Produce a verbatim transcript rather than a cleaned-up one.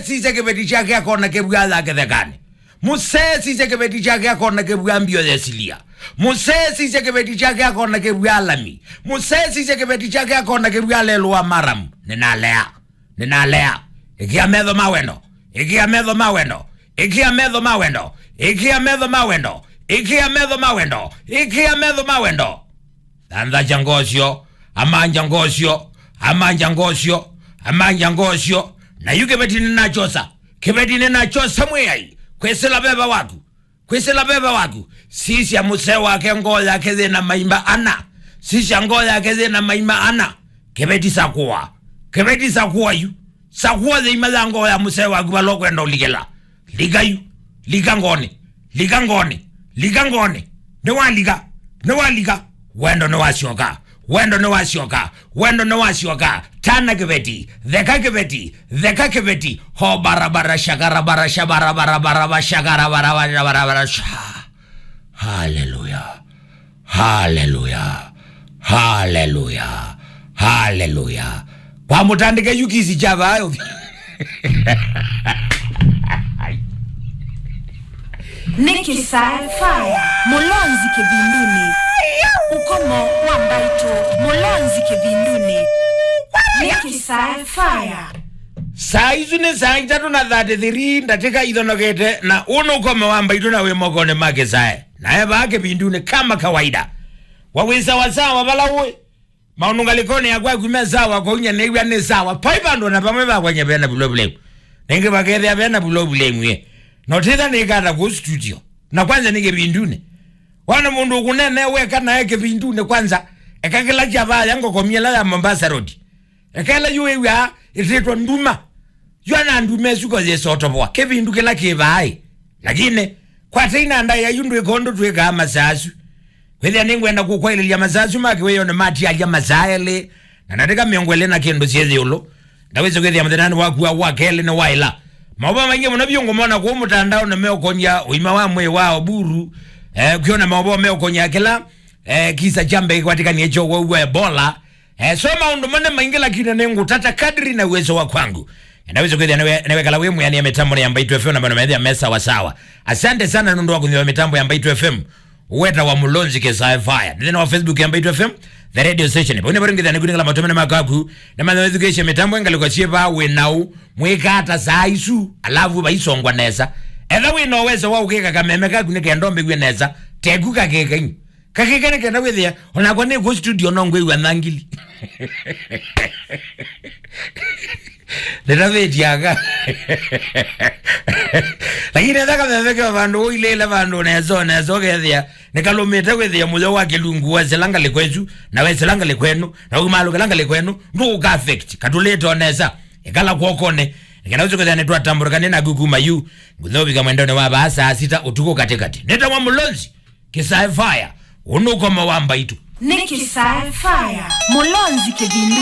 sisya kĩveti kyake akona kĩvw'a ya kĩthekanĩ. Mũsee sisya kĩveti kyake akona kĩvw'a mbio yesilia. Mũsee sisya kĩveti kyake akona kĩvw'a lami. Mũsee sisya kĩveti kyake akona kĩvw'a lelũ wa maramu. Nĩnalea. Nĩnalea. Ĩkĩa metho ma wendo. Ĩkĩa metho ma wendo. Ĩkĩa metho ma wendo. Ĩkĩa metho ma wendo. Ĩkĩa metho ma wendo. Ĩkĩa metho ma wendo. Thanthacha ngosyo, amanja ngosyo, amanja ngosyo, amanja ngosyo. Na yu kĩveti nĩnachosa. Kĩveti nĩnachosa Mwĩai. Kwĩsĩla veva waku. Kwĩsĩla veva waku. Sisya mũsee wake ngoo yake yĩna maima ana. Sisya ngoo yake yĩna maima ana. Kĩveti sakũa. Kĩveti sakũa yu. Sakũa yĩima ya ngoo ya mũsee waku vala ũkwenda ũlikĩla. Lika yu. Lika ngoonĩ. Lika ngoonĩ. Lika ngoonĩ. Nĩwalika. Nĩwalika. Wendo nĩwasyoka. Wendo nĩwasyoka. Wendo nĩwasyoka. Tana kĩveti. Theka kĩveti. Theka kĩveti. Ho barabara shakarabara shabarabara barabara shakarabara barabara sha. Haleluya. Haleluya. Haleluya. Haleluya. Kwa mũtandĩke yu kĩsi kya vayo. Nĩ Kĩsae Fire, Mũlonzi kĩvindunĩ. Ũkomo wa mbaitũ, Mũlonzi kĩvindunĩ. Nĩ Kĩsae Fire. Saa isu nĩ saa itatũ na thirty-three ndatĩka ithonokete, na ũũ nĩ ũkomo wa mbaitũ na wĩ mokonĩ ma Kĩsae. Na e vaa kĩvindunĩ kama kawaida. Wa wĩ sawasawa vala ũĩ. Maũndũ ngalĩkonĩ ya kwaku me sawa, kwa ũnya nĩw'a nĩ sawa. Pai vandũ na vamwe vakwanya vena problem. Nĩngĩ vakethĩa vena problem ĩ. No tĩtha nĩkata kũ studio. Na kwanza nĩ kĩvindunĩ. Wana mũndũ ũkũnene weka nae kĩvindunĩ kwanza. Eka kĩla kya vaya ngokomia ĩla ya Mombasa Road. Eka ĩla yu wĩw'aa ĩtĩtwa nduma. Yu ana nduma ĩsu ko yĩsotovoa. Kĩvindu kĩla kĩ vaaĩ. Lakini, kwata ina ndaĩa yu ndwĩka ũndũ twĩkaa masaa asu. Kwĩthĩa nĩngwenda kũkwaĩlĩlya masaa asu ma kĩwĩonĩ matialya masaa elĩ, na ndatĩka mĩongo ĩlĩ na kĩndũ syĩ ĩũlũ. Ndawĩsĩ kwĩthĩa mũthenyanĩ waku wa, wa kelĩ nĩ waĩla. Maũvoo maingĩ mũno vyũ ngũmona kũu mũtandaonĩ meũkony'a ũima wa mwĩĩ wa Oburu, eh, kwĩona maũvoo meũkony'a kĩla, eh, kisa kya mbee kĩkwatĩkanie kyo wau wa Ebola, Eh, so maũndũ mo nĩ maingĩ, lakini nĩngũtata kadri na uwezo wa kwangu. Enda wĩse kwĩthĩa nĩwe-, nĩwekala wĩ mwĩanĩa mĩtambo ya Mbaitũ F M na maũndũ methĩa me sawa sawa. Asante sana nũndũ wa kũnyua mĩtambo ya Mbaitũ F M. Weta wa Mũlonzi Kĩsae Fire. Nĩ thĩna wa Facebook ya Mbaitũ F M, the radio station. Vau nĩ varingithania kunengela matũmene makaku. Na mathethukĩsye mĩtambo ĩngalĩko syĩ vaa wĩ nau. Mwĩka ata saa isu, alafu vaisongwa nesa. Etha wĩ na uwezo wa ũkĩka kameme kaku nĩ kenda ũmbĩw'e nesa. Teku kakĩka inyu. Kakĩka nĩ kenda wĩthĩa, onakwa nĩ kũ studio no ngwĩw'a nthangili. Nĩtavĩtyaga. Lakini etha kameme ke vandũ ũilĩle vandũ nesa, nesa ũkethĩa, nĩkalũmĩte wĩthĩa mũyo wa kĩlungu wesĩla ngalĩko ĩsu, na wesĩla ngalĩko ĩno, na ũmalũkĩla ngalĩko ĩno, ndũũka affect, katũlĩte o nesa, ĩkala kw'okonĩ, nĩkenda ũsu kwĩthĩa nĩtwatambũrĩka nĩ naku kuma yu, ngũthovika mwendonĩ wa vaa saa sita ũtukũ katĩkatĩ. Nĩtawa Mũlonzi. Kĩsae Fire, ũnũkomo wa Mbaitũ. Nĩ Kĩsae Fire, Mũlonzi kĩvindu.